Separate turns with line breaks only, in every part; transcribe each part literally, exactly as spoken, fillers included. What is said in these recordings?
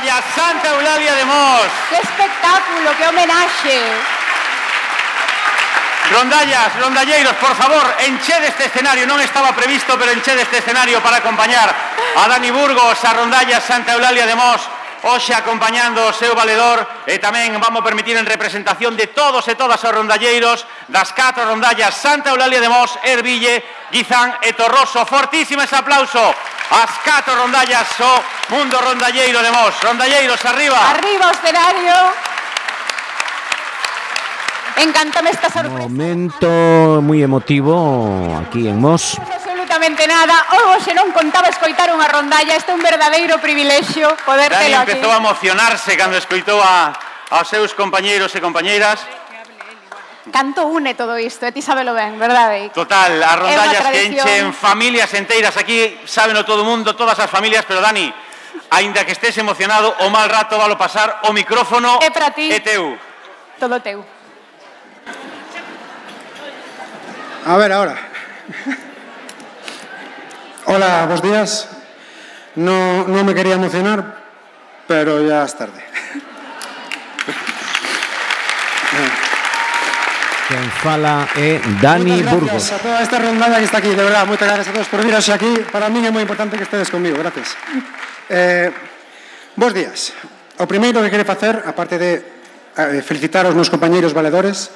rondalla Santa Eulalia de Mos.
Que espectáculo, que homenaxe.
Rondallas, rondalleiros, por favor, enchede este escenario. Non estaba previsto, pero enchede este escenario para acompañar a Dani Burgos, a rondallas Santa Eulalia de Mos, hoxe acompañando o seu valedor, e tamén vamos permitir en representación de todos e todas os rondalleiros das catro rondallas Santa Eulalia de Mos, Erville, Guizán e Torroso. Fortísimo ese aplauso ás catro rondallas o mundo rondalleiro de Mos. Rondalleiros, arriba.
Arriba o escenario. Encántame esta sorpresa.
Momento moi emotivo aquí en Mos.
Absolutamente nada. Hoxe non contaba escoitar unha rondalla. Este é un verdadeiro privilexio poder
Dani
telo aquí.
empezou a emocionarse cando escoitou a, aos seus compañeiros e compañeiras.
Canto une todo isto, e ti sabelo ben, verdade?
Total, as rondallas que
tradición.
enchen familias enteiras. Aquí sábeno todo o mundo, todas as familias, pero Dani, aínda que estés emocionado, o mal rato valo pasar, o micrófono
É para ti.
é teu.
Todo teu.
A ver, ahora. Hola, buenos días. No, no me quería emocionar, pero ya es tarde.
Quen fala é Dani Burgos.
Muchas gracias a toda esta rondalla que está aquí, de verdad. Muchas gracias a todos por vir aquí. Para mí é moi importante que estedes conmigo. Gracias. Eh, bos días. O primeiro que quere facer, aparte de eh, felicitar aos meus compañeiros valedores,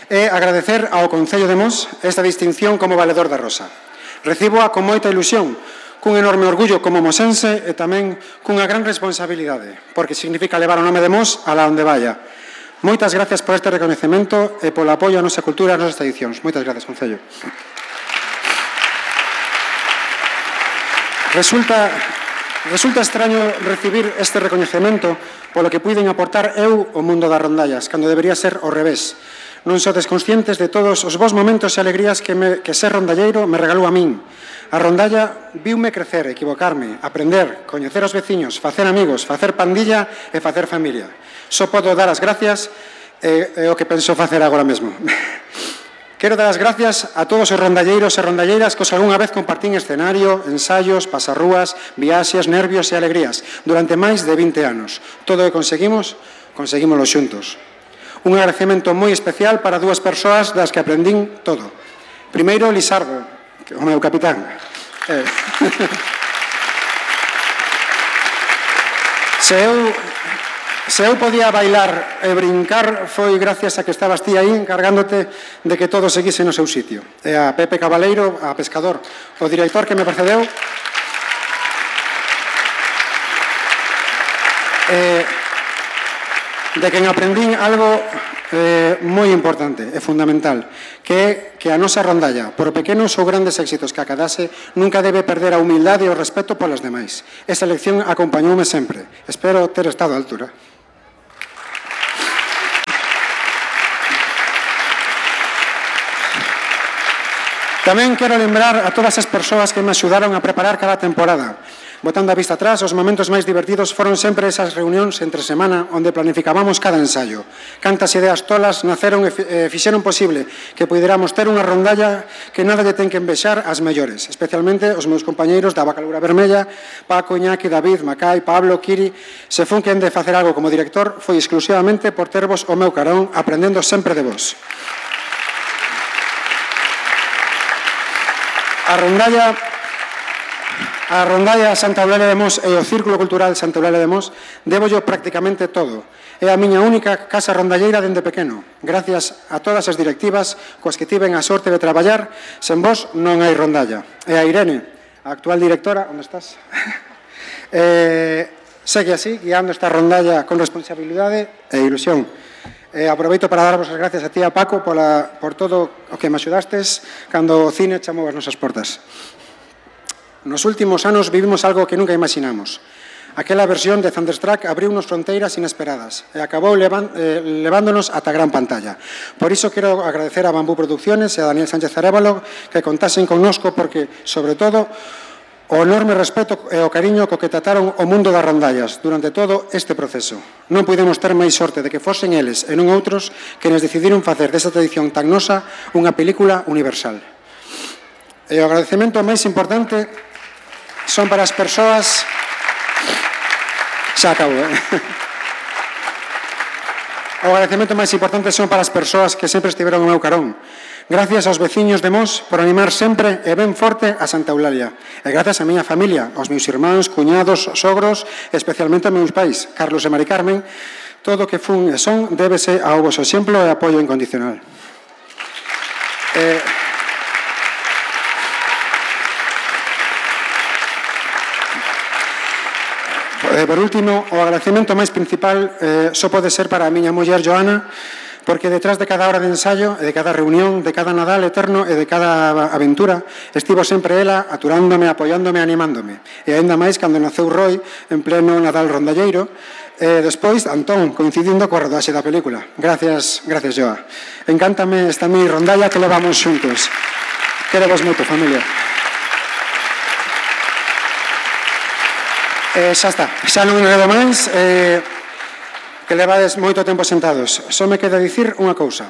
é agradecer ao Concello de Mos esta distinción como valedor da Rosa. Recíboa con moita ilusión, cun enorme orgullo como mosense e tamén cunha gran responsabilidade, porque significa levar o nome de Mos alá onde vaya. Moitas gracias por este reconhecemento e polo apoio á nosa cultura e ás nosas tradicións. Moitas gracias, Concello. Resulta, resulta extraño recibir este reconhecemento polo que puiden aportar eu ao mundo das rondallas, cando debería ser ao revés. Non sodes conscientes de todos os bons momentos e alegrías que, me, que ser rondalleiro me regalou a min. A rondalla viume crecer, equivocarme, aprender, coñecer os veciños, facer amigos, facer pandilla e facer familia. Só podo dar as gracias e, e o que penso facer agora mesmo. Quero dar as gracias a todos os rondalleiros e rondalleiras cos que algunha vez compartín escenario, ensaios, pasarrúas, viaxes, nervios e alegrías durante máis de vinte anos. Todo o que conseguimos, conseguímoslo xuntos. Un agradecemento moi especial para dúas persoas das que aprendín todo. Primeiro, Lisardo, o meu capitán. Eh. Se eu, se eu podía bailar e brincar foi gracias a que estabas ti aí encargándote de que todo seguise no seu sitio. E a Pepe Cabaleiro, a Pescador, o director que me precedeu. Eh, de quen aprendín algo eh, moi importante e fundamental, que é que a nosa rondalla, por pequenos ou grandes éxitos que acadase, nunca debe perder a humildade e o respeto polas demais. Esa lección acompañoume sempre. Espero ter estado á altura. Tamén quero lembrar a todas as persoas que me axudaron a preparar cada temporada. Botando a vista atrás, os momentos máis divertidos foron sempre esas reunións entre semana onde planificábamos cada ensaio. Cantas ideas tolas naceron e fixeron posible que puderamos ter unha rondalla que nada lle ten que envexar ás mellores, especialmente os meus compañeiros da Bacalura Vermella, Paco, Iñaki, David, Macai, Pablo, Kiri. Se fun quen de facer algo como director, foi exclusivamente por tervos o meu carón, aprendendo sempre de vos. A rondalla A rondalla Santa Eulalia de Mos e o Círculo Cultural Santa Eulalia de Mos débollo prácticamente todo. É a miña única casa rondalleira dende pequeno. Gracias a todas as directivas coas que tiven a sorte de traballar, sen vos non hai rondalla. E a Irene, a actual directora, onde estás? eh, segue así, guiando esta rondalla con responsabilidade e ilusión. Eh, aproveito para darvos as gracias a ti, a Paco, pola, por todo o que me axudastes cando o cine chamou as nosas portas. Nos últimos anos vivimos algo que nunca imaginamos. Aquela versión de Thunderstruck abriunos fronteiras inesperadas e acabou levan, eh, levándonos ata a gran pantalla. Por iso quero agradecer a Bambú Producciones e a Daniel Sánchez Arévalo que contasen connosco porque, sobre todo, o enorme respeto e o cariño co que trataron o mundo das rondallas durante todo este proceso. Non pudemos ter máis sorte de que fosen eles e non outros que nos decidiron facer desa tradición tan nosa unha película universal. E o agradecemento máis importante son para as persoas xa acabo, eh? O agradecemento máis importante son para as persoas que sempre estiveron ao meu carón. Gracias aos veciños de Mos por animar sempre e ben forte a Santa Eulalia. E gracias á miña familia, aos meus irmáns, cuñados, sogros, e especialmente aos meus pais, Carlos e Mari Carmen. Todo o que fun e son débese ao vosso exemplo e apoio incondicional. Eh, Por último, o agradecemento máis principal eh, só pode ser para a miña muller Joana, porque detrás de cada hora de ensayo, de cada reunión, de cada Nadal eterno e de cada aventura, estivo sempre ela aturándome, apoiándome, animándome. E aínda máis cando naceu Roy en pleno Nadal rondalleiro, e despois Antón, coincidindo coa rodaxe da película. Gracias, gracias, Joa. Encántame esta mi rondalla que levamos xuntos. Quero vos moito, familia. Eh, xa está, xa non enredo máis, eh, que levades moito tempo sentados. Só me queda dicir unha cousa.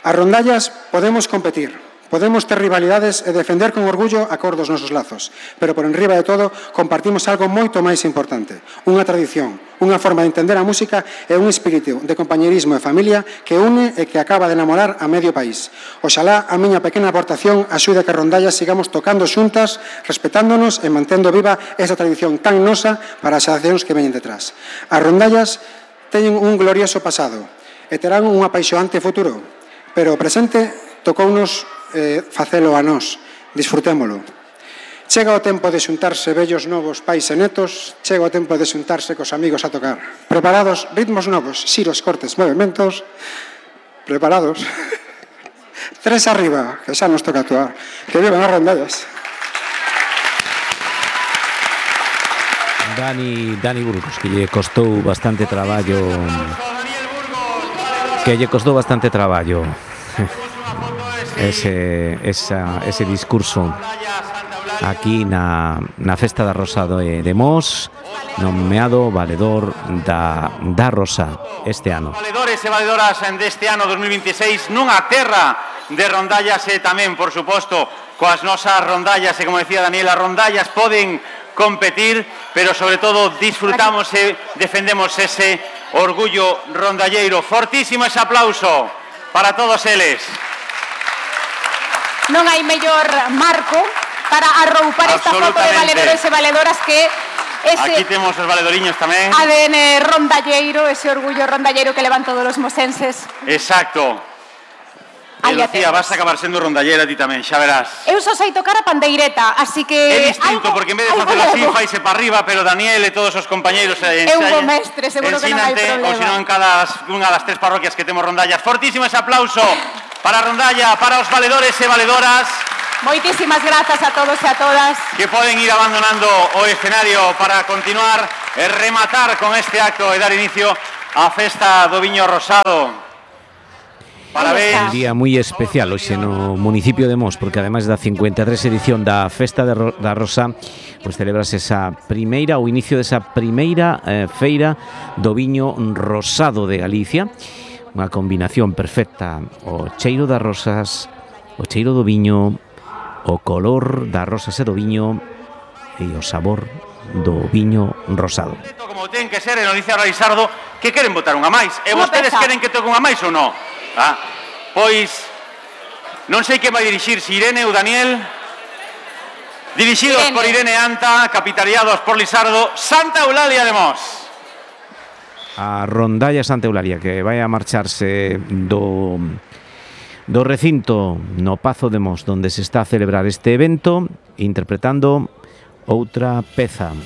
As rondallas podemos competir, podemos ter rivalidades e defender con orgullo a cor dos nosos lazos, pero por enriba de todo compartimos algo moito máis importante, unha tradición, unha forma de entender a música e un espírito de compañerismo e familia que une e que acaba de enamorar a medio país. Oxalá a miña pequena aportación axude a que rondallas sigamos tocando xuntas, respetándonos e mantendo viva esa tradición tan nosa para as xeracións que veñen detrás. As rondallas teñen un glorioso pasado e terán un apaixoante futuro, pero o presente tocounos eh, facelo a nós, disfrutémolo. Chega o tempo de xuntarse vellos novos pais e netos, chega o tempo de xuntarse cos amigos a tocar. Preparados, ritmos novos, xiros, cortes, movimentos, preparados. Tres arriba, que xa nos toca actuar. Que vivan as rondallas.
Dani, Dani Burgos, que lle costou bastante traballo, que lle costou bastante traballo. Ese, esa, ese discurso aquí na, na Festa da Rosa de, de Mos, nomeado valedor da, da Rosa este ano.
Valedores e valedoras deste ano dos mil veintiséis nunha terra de rondallas e tamén, por suposto, coas nosas rondallas, e como decía Daniela, rondallas poden competir, pero sobre todo disfrutamos e defendemos ese orgullo rondalleiro. Fortísimo ese aplauso para todos eles.
Non hai mellor marco para arroupar esta foto de valedores e valedoras que ese
aquí temos os valedoriños tamén.
A D N rondalleiro, ese orgullo rondalleiro que levan todos os mosenses.
Exacto. E Lucía, vas a acabar sendo rondallera ti tamén, xa verás.
Eu só sei tocar a pandeireta, así que...
É distinto, algo, porque en vez de facer así, faise para arriba, pero Daniel e todos os compañeiros
é un bo mestre, seguro que non hai problema.
Ou senón en cada unha das tres parroquias que temos rondallas. Fortísimo ese aplauso para a rondalla, para os valedores e valedoras.
Moitísimas grazas a todos e a todas.
Que poden ir abandonando o escenario para continuar e rematar con este acto e dar inicio á festa do Viño Rosado.
Un día moi especial hoxe no municipio de Mos, porque ademais da cincuenta e tres edición da Festa de Ro da Rosa, pois celebras esa primeira, o inicio desa primeira eh, feira do Viño Rosado de Galicia, unha combinación perfecta, o cheiro das rosas, o cheiro do viño, o color das rosas e do viño e o sabor do viño rosado.
Como ten que ser, e nos dice a Raisardo que queren botar unha máis, e vostedes queren que toque unha máis ou non? Ah, pois non sei que vai dirixir, se Irene ou Daniel. Dirixidos Irene. Por Irene Anta, capitaneados por Lisardo, Santa Eulalia de Mos.
A rondalla Santa Eulalia que vai a marcharse do do recinto no Pazo de Mos, donde se está a celebrar este evento, interpretando outra peza.